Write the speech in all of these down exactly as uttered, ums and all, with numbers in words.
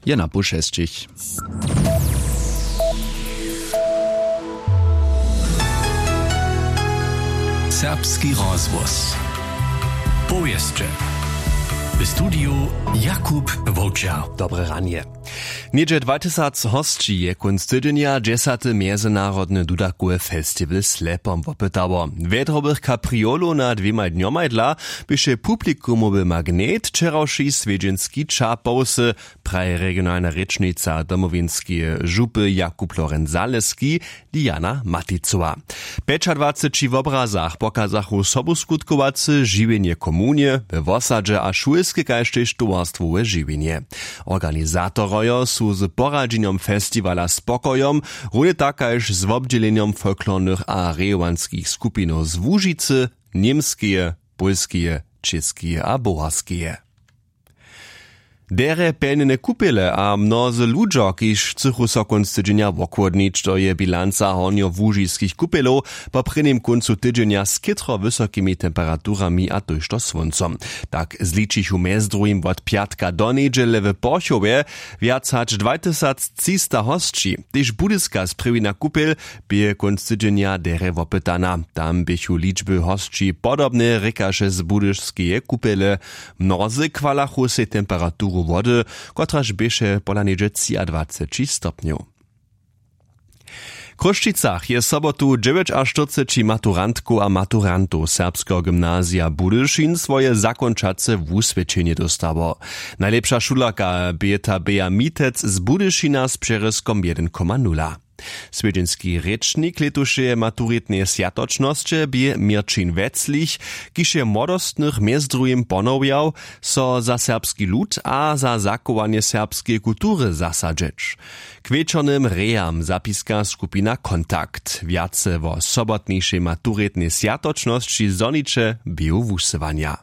Je na pół šesćich. Serbski rozhłos. Powěsće. W studiju Jakub Wowčer. Dobre ranje. Něhdźe dwatysac hosći je kónc tydźenja dźesate mjezynarodne dudakowe festiwal slepom wopytało. Wjedrobych kapriolow na dwěmaj dnjomaj dla běše publikumowy magnet wčerawši swjedźenski ča powsy, praji regionalna rěčnica domowinskeje župy Jakub Lorenc Zaleski, Diana Maticowa. W pjećadwaceći wobrazach pokazachu sobuskutkowace žiwjenje w komunje, we wosadźe a šulske kaž tež towarstwowe žiwjenje. Organizatorojo su z poradźenjom festiwala spokojom, runje tak kaž z wobdźělenjom folklornych a rejowanskich skupinow z łužicy, němskeje, pólskeje, čěskeje a boharskeje. Derje pjelnjene kupele a mnozy ludźo kiž chcychu so kónc tydźenja wochłodnić, to je bilanca hornjołužiskich kupjelow po prěnim kóncu tydźenja z chětro wysokimi temperaturami a tójšto słóncom. Tak zličichu mjez druhim wot pjatka do njedźele w porchowje wjac hač dwatysactřista hosći. Tež budyska sprěwina kupjel bě kónc tydźenja derje wopytana. Tam běchu ličby hosći podobne, rěkaše z budyšskeje kupjele. Mnozy chwalachu sej temperaturu wody, kotraž běše pola něhdźe třiadwaceći stopnjow. W chrósćicach je sobotu dźewjećaštyrceći maturantkow a maturantow serbskeho gymnazija budyšin swoje zakónčace wuswědčenje dóstało. Najlěpša šulerka bě ta běja mitec z budyšina z přerězkom jedyn koma nula. Swjedźenski rěčnik lětušeje maturitneje swjatočnosće bě měrćin weclich, kiž je młodostnych mjez druhim ponowjał, so za serbski lud a za zachowanje serbskeje kultury zasadźeć. K wječornym rejam zapiska skupina kontakt wjace wo sobotnišej maturitnej swjatočnosći zhoniće běhu wusyłanja.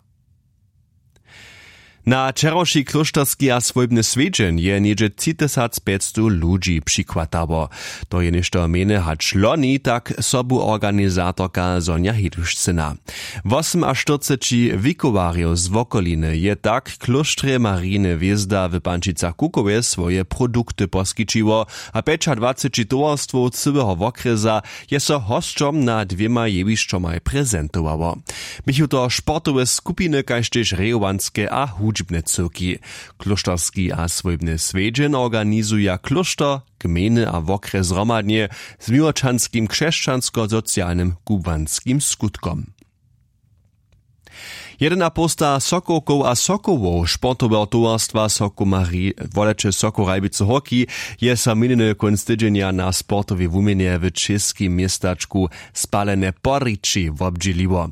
Na wčerawši klóšterski a swójbny swjedźeń je něhdźe třitysacpjećstow ludźi přichwatało. To je něšto mjene hač loni, tak sobuorganizatorka Sonja Hidušcyna. Wosymaštyrceći wikowarjow z wokoliny je tak w klóštrje marijiny hwězda w pančicach kukowje swoje produkty poskićiło, a pjećadwaceći towarstwow cyłeho wokrjesa je so hosćom na dwěmaj jewišćomaj prezentowało. Běchu to sportowe skupiny kaž tež rejowanske a hudźbne cyłki. Klóšterski a swójbny swjedźeń organizuja klóšter, gmejny a wokrjes zhromadnje z miłočanskim křesćansko-socialnym kubłanskim skutkom. Jedynapołsta sokowkow a sokołow sportoweho towarstwa sokomari woleće sokow rajbicy hoki je so minjeny kónc tydźenja na sportowej wuměnje w čěskim městačku spalene porići wobdźěliło.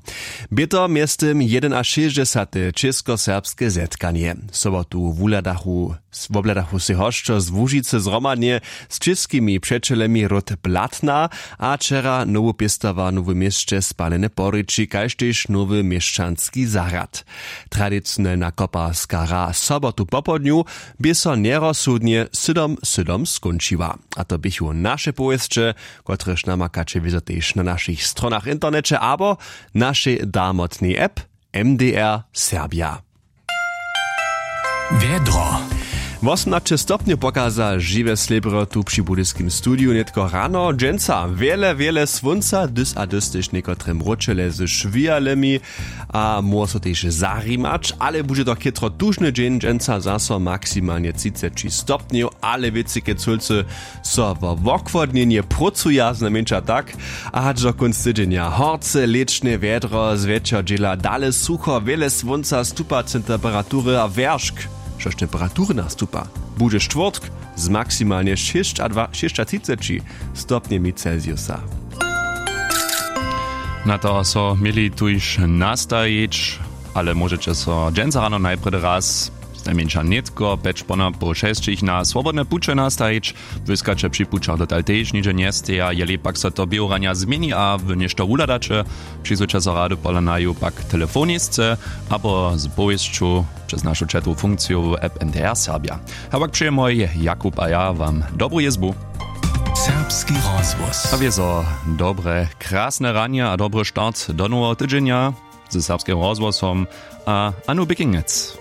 Bě to mjeztym jedynašěsćdźesate českoserbske zetkanje. Sobotu wuhladachu wobhladachu sej hosćo z łužicy zhromadnje z čěskimi přećelemi ród blatna, a wčera nowu pěstowarnu w měsće spalene porići kaž tež nowy měšćanski zahrad. Tradicionelna koparska hra sobotu popołdnju bě so njerozsudnje sydom sydom skónčiła. A to běchu naše powěsće, kotrež namakaće wězo tež na našich stronach w interneće abo našej darmotnej app M D R Serbia. Wjedro. Wosomnaće stopnjow pokaza žiwe slěbry tu při budyskim studiju nětko rano dźensa wjele wjele słónca dys a dys tež někotre mróčele z šwijalymi, a móhło so tež zarimać, ale budźe to chětro tužny dźeń dźensa zaso maksimalnje třiceći stopnjow, ale wětřike cólcy so wo wochłodnjenje prócuja znajmjeńša tak. A hač do kónc tydźenja horce lěčne wjedro zwjetšer dźěla dale sucho wjele słónca stupa temperatury a wjeršk, štož temperatury nastupa, budźe štwórtk z maksimalnje šěsćadwa šěsćatřiceći stopnjemi celsiusa. Na to so měli tuž nastajić, ale móžeće so dźensa rano najprjedy raz znajmjeńša nětko pjeć ponopoł šesćich na swobodne puće nastajić. Wyskaće při pućach dotal tež nihdźe njesteja, jeli pak so to běhuranja změni a wy něšto wuhladaće, přizwuće so rady pola naju pak telefonisce abo z powěsću přez našu četowu funkciju w app N D R Serbia. A pak přejemoj Jakub a ja wam dobru jězbu. Serbski rozhłos a wězo dobre krasne ranje a dobry start do noweho tydźenja ze serbskim rozhłosom a Anu Běkinjec.